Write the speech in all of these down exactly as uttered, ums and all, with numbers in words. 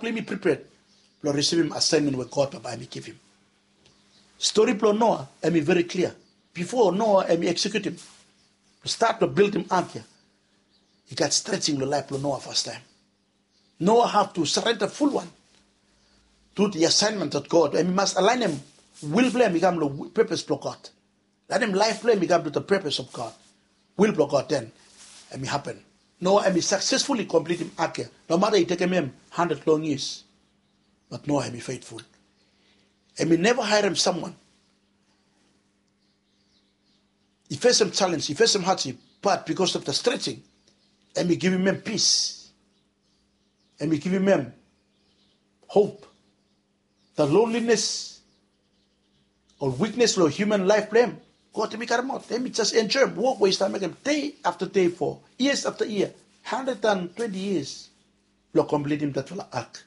Blong yumi pripea blong risivim asaenmen we God Papa hemi givim. Stori blong Noa hemi veri klia. Bifo Noa hemi eksekiutim, stat blong bildim ak ya, i gat strejning long laef blong Noa fastaem. Noa have to surrender fulwan to the assignment of God. Hemi mas alaenem wil blong hem i kam long pepes blong God. Laetem laef blong hem i kam to the purpose of God, wil blong God, then hemi hapen. Noa hemi successfully completim ak ya. Nomata i tekem hem handred long years, but Noa hemi faithful. Hemi neva haerem someone. I fesem challenge, i fesem hardship, but because of the stretching, hemi givim hem peace. Hemi givim hem hope. The loneliness o weakness long human laef blong hem, God hemi karemaot. Hemi jes enjoem wok we i stap mekem dei afta dei, fo years afta yia, handred and twenti years, blong kompletim datfala ak.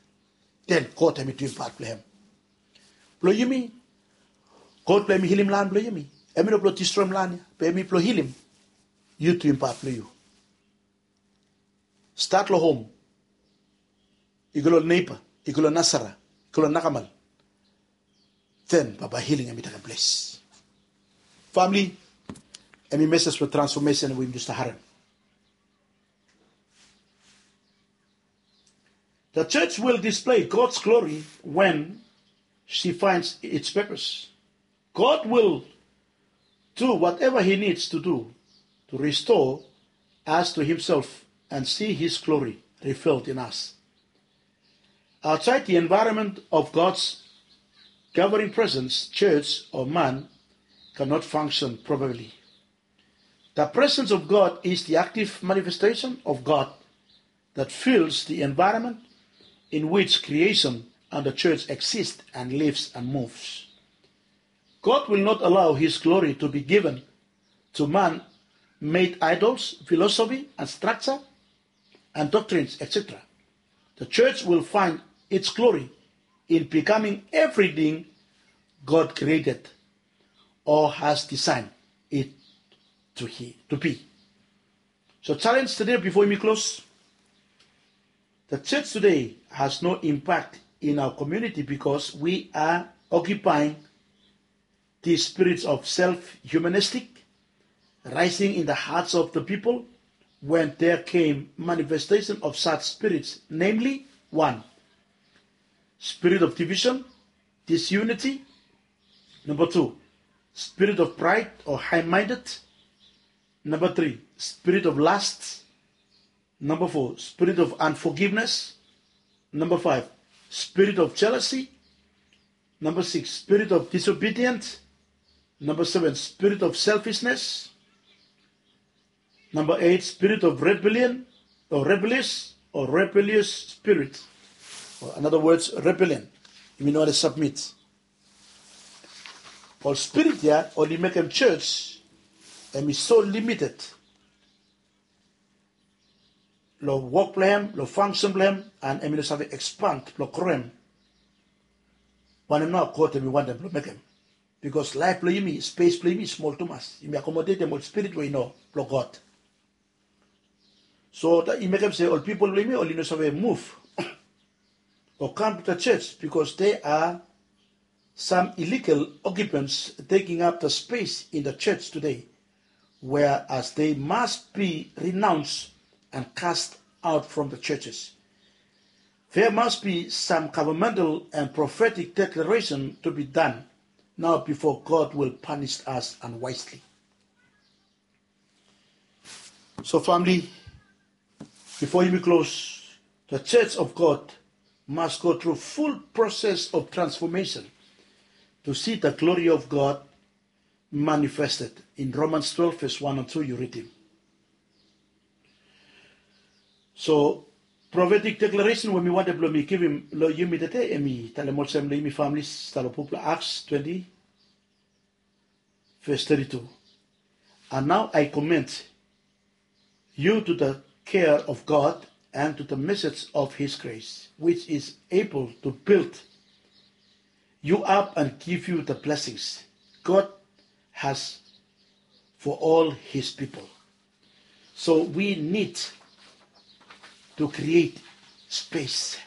Then God hemi duim pat blong hem. Blong yumi, God blong yumi hilim lan blong yumi. Hemi no blong distroem lan ya, be hemi blong hilim yu, duim pat blong yu. Stat long hom, i go long neiba, i go long nasara, i go long nakamal. Then bambae hiling hemi tekem ples. Famili, hemi mesej blong transfomesen we yumi jes stap harem. The church will display God's glory when she finds its purpose. God will do whatever he needs to do to restore us to himself and see his glory revealed in us. Outside the environment of God's governing presence, church or man cannot function properly. The presence of God is the active manifestation of God that fills the environment in which creation and the church exist and lives and moves. God will not allow his glory to be given to man-made idols, philosophy and structure, and doctrines, et cetera. The church will find its glory in becoming everything God created or has designed it to, he, to be. So challenge today before yumi klos. The church today has no impact in our community because we are occupying the spirits of self-humanistic rising in the hearts of the people when there came manifestation of such spirits, namely, one, spirit of division, disunity. Number two, spirit of pride or high-minded. Number three, spirit of lust. Number four, spirit of unforgiveness. Number five, spirit of jealousy. Number six, spirit of disobedience. Number seven, spirit of selfishness. Number eight, spirit of rebellion or rebellious or rebellious spirit. Or in other words, rebellion. Yumi no wani submit. Ol spirit ya oli mekem church hemi so limited long wok blong hem, long function blong hem, and hemi no save expand blong groem wanem nao God hemi wantem blong mekem. Because laef blong yumi, spes blong yumi smol tumas. Yumi akomodetem ol spirit we i no blong God. So i mekem se ol pipol blong yumi oli no save muv o kam to the church because there are some illegal occupants taking up the space in the church today, whereas they must be renounced and cast out from the churches. There must be some governmental and prophetic declaration to be done now before God will punish us unwisely. So famili, bifo yumi klos, the church of God must go through full process of transformation to see the glory of God manifested. In Romans twelve verse one and two yu ridim. So prophetic declaration we mi wantem blong mi givim long yumi tede, hemi talem olsem long yumi famili, stap long buk blong Acts twenty, verse thirty-two. And now I commend you to the care of God and to the message of his grace, which is able to build you up and give you the blessings God has for all his people. So we need to create space